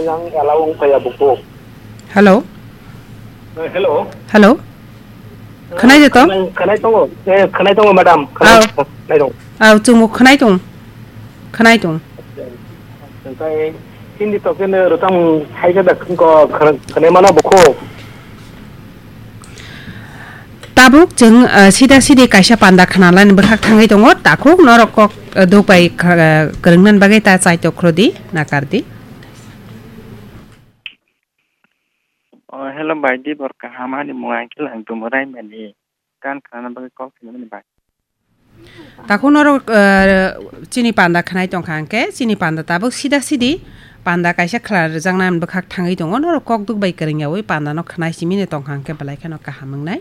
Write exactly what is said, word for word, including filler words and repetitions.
Yang allow wng phaiya buku. Hello. Eh, hello. Hello. Eh, Khwnai de to? Khwnai, khwnai tongo. Eh, khwnai tongo, madam. Khwnai, Au. Khwnai tongo. Au, chwngbo khwnai tong. Khwnai tong. Hwnkhe hindi to khe rwchapmung hai khe da khwng ko khwna-, khwnai mano buku. Tabuk chwng, eh, sida sidi kaisa panda khwnalani bwkhak thangwi tongo, takhuk norok kok, eh, duk bai kha-, eh, kwrwngna bagwi ta chaitok khrodi, nakardi. Oh, hello, bai, di bor kaham, ani mung ang khe lang tumo rai mani, kan khana bagwi kok sinani bai. Takhuk norok, eh, chini panda khwnai tongkha hwnkhe, chini panda tabuk sida sidi panda kaisa khwla rwjaknani bwkhak thangwi tongo, norok kok duk bai kwrwngyawi panda no khwnai simini tongkha hwnkhe belai kheno kaham wngnai.